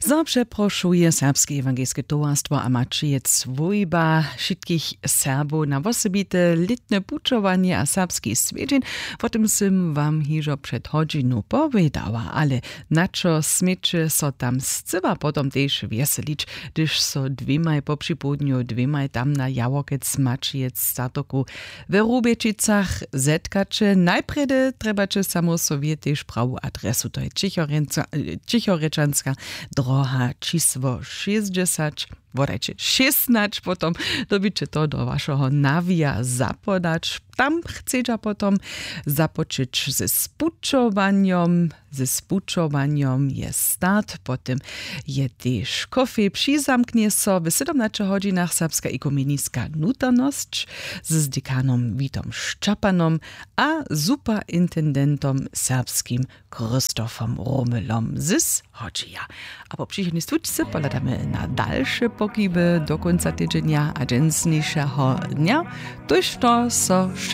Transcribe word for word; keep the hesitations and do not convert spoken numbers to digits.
Zo přeprošuje serbske ewangelske towarstwo a maćije swójba wšitkich Serbow na wosebite lětne pućowanje a serbski swjedźeń. Wo tym sym wam hižo před hodźinu powědała, ale na čo směće so tam scyła potom tež wjeselić, hdyž so dwěmaj popřipołdnju dwěmaj tam na jaworkec maćijec startoku w Rubječicach zetkaće. Najprjedy trjebaće samo sowje tež prawu adresu, to je ćichorječanska droha čisło šěsćdźesać, wodajće šěsnać, potom dyrbiće to do wašeho nawija zapodać. Tam chcedźa potom započeć ze spućowanjom. Ze spućowanjom je start, potom je tež kofej, přizamknje so w sydomnaće hodźinach serbska ekumeniska nutarnosć z dekanom Witom Šćapanom a superintendentom serbskim Christofom Romelom z Hodźeja. A po přichodnej stutčce pohladamy na dalše pokiby do kónca tydźenja a dźensnišeho dnja. Tójšto so wšak